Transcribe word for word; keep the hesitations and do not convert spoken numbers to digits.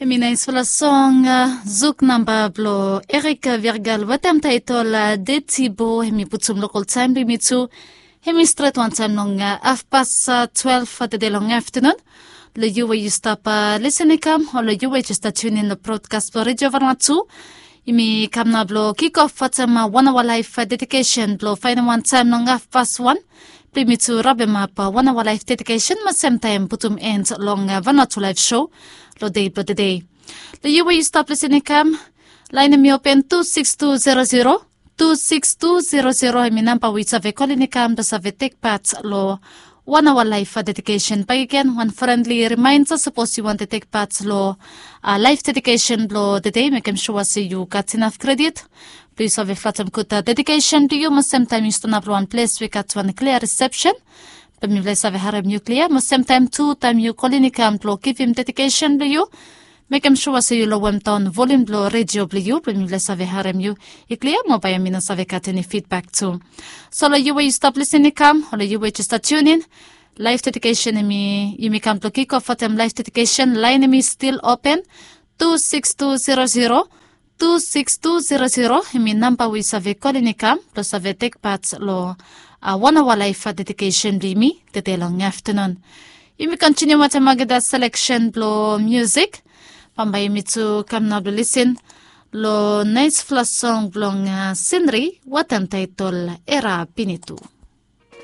Em i naisfala song, zuk namba blong Erik Vergal wetem taetol Deti Bo. Em i putum lokal taem blong yumi tu. Em i stret wantaem long hafpas twelef tede long aftenun. Long yu we yu stap lisin i kam o long yu we jes stap tunin long brodkas blong Redio Vanuatu, yumi kam nao blong kikof wetem wan aoa laef dedikesen blong faenem wantaem long hafpas wan blong yumi tu rabemap wan aoa laef dedikesen mo semtaem putum en long Vanuatu Laef Sou long dei blong tede. Long yu we yu stap lisin i kam, laen hem i open tu sikis tu zero zero, tu sikis tu zero zero. Hem i namba we yu save kolin i kam blong save tek pat long wan aoa laef dedikesen. Bakegen wan frendli rimaenda, sapos yu wantem tek pat long laef dedikesen blong tede, mekem sua se yu gat inaf kredit blong yu save flatem gud dedikesen blong yu mo semtaem yu stanap long wan ples we i gat wan klia risepsen blong mifala i save harem yu klia. Mo semtaem tu taem yu kolin i kam blong givim dedikesen blong yu, mekem sua se yu lowemdaon volium blong redio blong yu blong mifala i save harem yu i klia mo bae mi no save gat eni fidbak tu. So long yu we yu stap lisin i kam o long yu we jes stap tunin, laef dedikesen hem i, yumi kam blong kikof wetem laef dedikesen. Laen hem i stil open, tu sikis tu zero zero, tu sikis tu zero zero. Hem i namba we yu save kolin i kam blong save tek pat long wan aoa laef dedikesen blong yumi tede long aftenun. Yumi kontiniu wetem olgeta seleksen blong miusik. Bambae yumi tu kam nao blong lisin long naesfala song blong Sinri wetem taetol Era Pinitu.